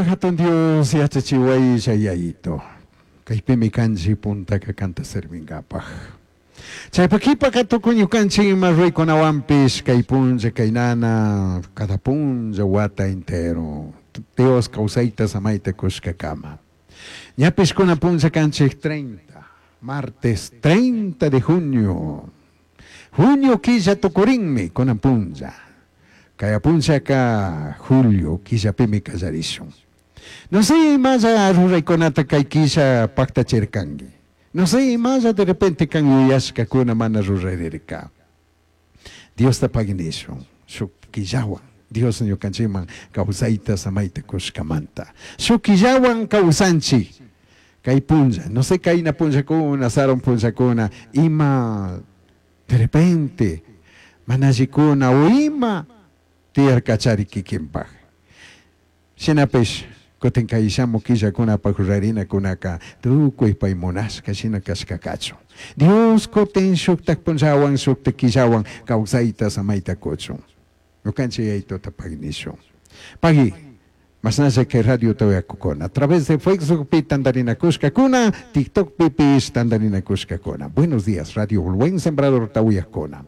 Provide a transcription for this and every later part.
Hatun Dios yachachiwaylla Yayito. Kaypimi kanchik puntaka kanta servinkapaj. Chaypa qhipaka tukuy ñukanchik ima ruraykunawanpish kay punlla kaynana cada punlla wata entero Dios kawsayta samayta kushkakama. Ñapish kunan punlla kanchik 30, martes 30 de junio. Junio killa tukurinmi kunan punlla. Kaya punllaka julio killapimi kallarishun. No sé imalla ruraykunata kay killa paktachirkanki. No sé imalla de repente kan yuyashkakuna mana rurarirka. Diosta pagui nishun shuk killawan Dios ñukanchikman kawsayta samayta kushkamanta. Shuk killawan kawsanchik kay punlla, no sé kayna punllakuna, sarun punllakuna, ima de repente mana allikuna o ima tiyarkachari kikinpaj. Shinapish kutin kay shamuj killakunapaj rurarinakunaka tukuy pay munashka shina kashkakachu. Dios kutin shuktak punllawan shuktak killawan kawsayta samayta kuchun. Ñukanchik Yayituta pagui nishun. Pagui, mashnalla kay radiota uyakukuna. A través de Facebookpi tandarinakushkakuna, TikTokpipish tandarinakushkakuna. Buenos días, Radio El Buen Sembradorta uyakuna.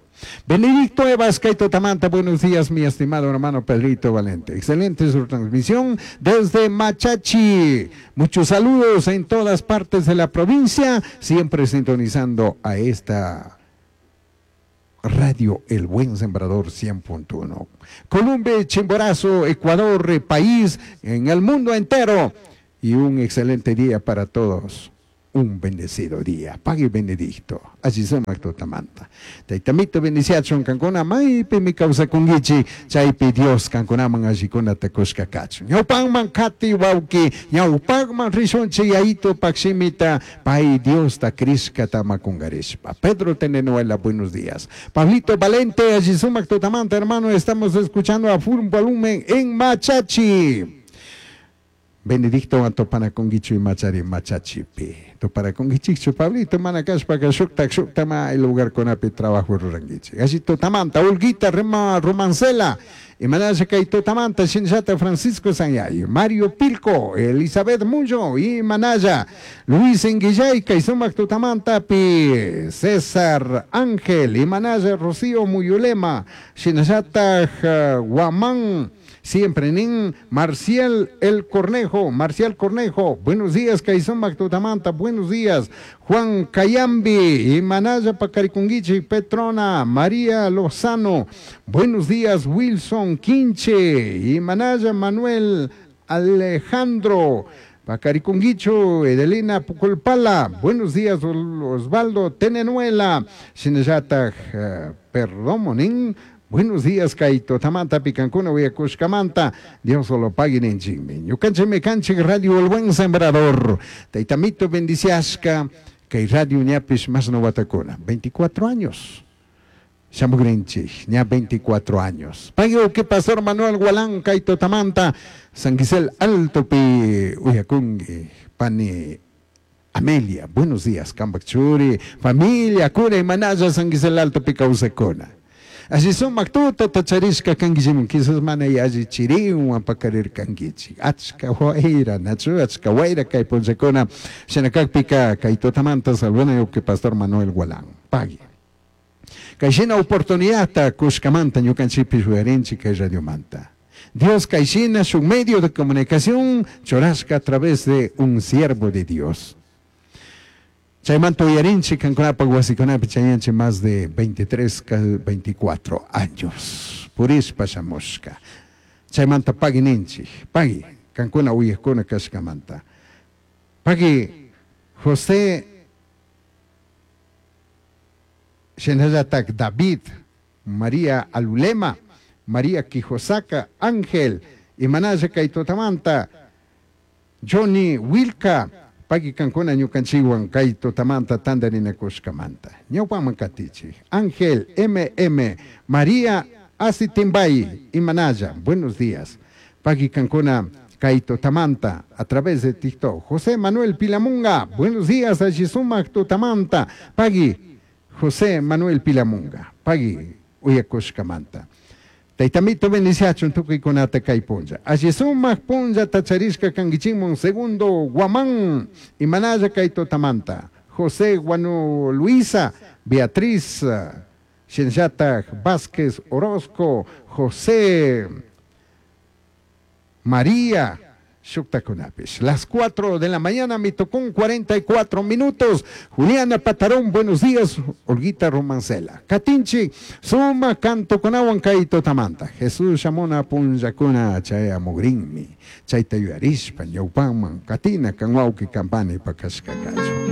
Benedicto Evas kay tutamanta, buenos días, mi estimado hermano Pedrito Valente. Excelente su transmisión desde Machachi. Muchos saludos en todas partes de la provincia, siempre sintonizando a esta Radio El Buen Sembrador 100.1. Colombia, Chimborazo, Ecuador, país, en el mundo entero. Y un excelente día para todos. Un bendecido día. Pague Benedicto. Allí sumak tutamanta. Taytamito bendiciachun kankuna maypi mi kawsakunkichik chaypi Dios kankunaman allikunata kushka kachun. Ñawpakman kati wawki, ñawpakman rishunchik Yayitupak shimita pay Diosta crishkata makungarishpa. Pedro Tenenuela, buenos días. Pablito Valente, allí sumak tutamanta, hermano, estamos escuchando a full volumen en Machachi. Benedicto tupanakunkichu imachari Machachipi. Tupanakunkichikchu Pablito mana kashpaka shuktak shuktama el lugarkunapi trabajo rurankichik. Allí tutamanta, Olguita Romancela, imanasha kay tutamanta, shinallata Francisco Sanyay, Mario Pilco, Elizabeth Muyo, imanaya, Luis Enguillay, kay sumak tutamantapi, César Ángel, imanaya Rocío Muyulema, shinallata Guamán, siempre nin Marcial el Cornejo, Marcial Cornejo, buenos días, Kay sumak tutamanta, buenos días, Juan Cayambi, Imanaya Pacarikunguichi, Petrona, María Lozano, buenos días, Wilson Quinche, Imanaya Manuel Alejandro, Pacarikunguicho, Edelina Puculpala, buenos días, Osvaldo Tenenuela, Shinallata, Perdomonín, buenos días, Kaito Tamanta, Picancuna, Uyacushcamanta, Dios lo pague en chinme. Ñukanchik kanchik Radio El Buen Sembrador, Taitamito bendiciasca, kay Radio ñapish más no watakuna, 24 años. Shamugrinchik, ña 24 años. Pague que Pastor Manuel Gualán, Kaito Tamanta, San Gisel Alto pi Uyakungi, Pani Amelia, buenos días, Kambakchuri, familia, cura y manaya, San Gisel Alto pi Causacona. Así son mactuta tacharishka kankichimun, quizás mana alli chiriwan pakarir kankichik. Achka wayra, nachu, achka wayra kay punchakuna, shinakakpika kay tutamanta salvana que Pastor Manuel Gualán. Pague. Kay oportunidad kushkamanta ñukanchikpish uyarinchik kay radiomanta. Dios kayshina su medio de comunicación churashka a través de un siervo de Dios. Chaymanta uyarinchik kankunapaq wasikunapi chayanchik más de 23, 24 años. Purishpa shamushka. Chaymanta pagui ninchik, pagui, kankuna uyakuna kashkamanta. Pagui José shinallatak David, María Alulema, María Quijosaka, Ángel, Imanaya kay tutamanta, Johnny Wilka, pagui kankuna ñukanchikwan kay tutamanta tandarinakushkamanta. Ñawpaman katichik. Ángel MM, María Asitimbay, Imanaya, buenos días. Pagui kankuna kay tutamanta a través de TikTok. José Manuel Pilamunga, buenos días, Allisumak tutamanta. Pagui José Manuel Pilamunga, pagui uyakushkamanta. Taytamito bendiciachun tukuykunata kay punlla. Alli sumak punllata charishka kankichikmun segundo Guamán imanalla kay tutamanta. José Guanu Luisa, Beatriz, shinallatak Vázquez Orozco, José María, shuktakunapish. Las 4 de la mañana me tocó un 44 minutos. Juliana Patarón, buenos días. Olguita Romancela. Katinchi, suma canto kunawan kay tutamanta. Jesús shamuna punllakuna chayamugrinmi. Chayta yuyarishpa ñawpaman katina kan wawqi kampani pakashka kachun.